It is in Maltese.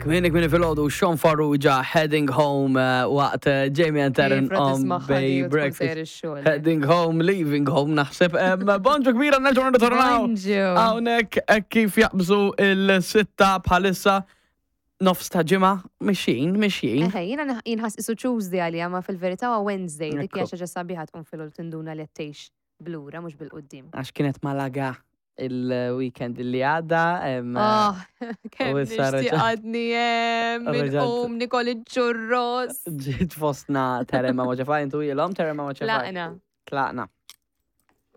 Kmieni kmieni filgħodu Sean Farrugia heading home eh, waqt eh, Jamie and Taryn on Bay Breakfast. Heading home, leaving home naħseb. Bonġu kbira nerġgħu nirritornaw. Hawnhekk hekk kif jaqbżu il-sitta bħalissa nofs ta' ġimgħa mixjin, mixjin. Eħe, jiena jinħass isu Tuesday għalija ma fil-verità huwa Wednesday, dik hija xi ħaġa sabiħa tqum filgħodu tinduna li qed tgħix blura mhux bil-quddiem. Għax kienet Malaga il-weekend li għadda. Oh, kemm nixtieq għadni hemm, inqum nikol iċ-ċurros. Ġiet fostna Terema Moċefaj, intu ilhom Terema Moċefaj. Tlaqna. Tlaqna.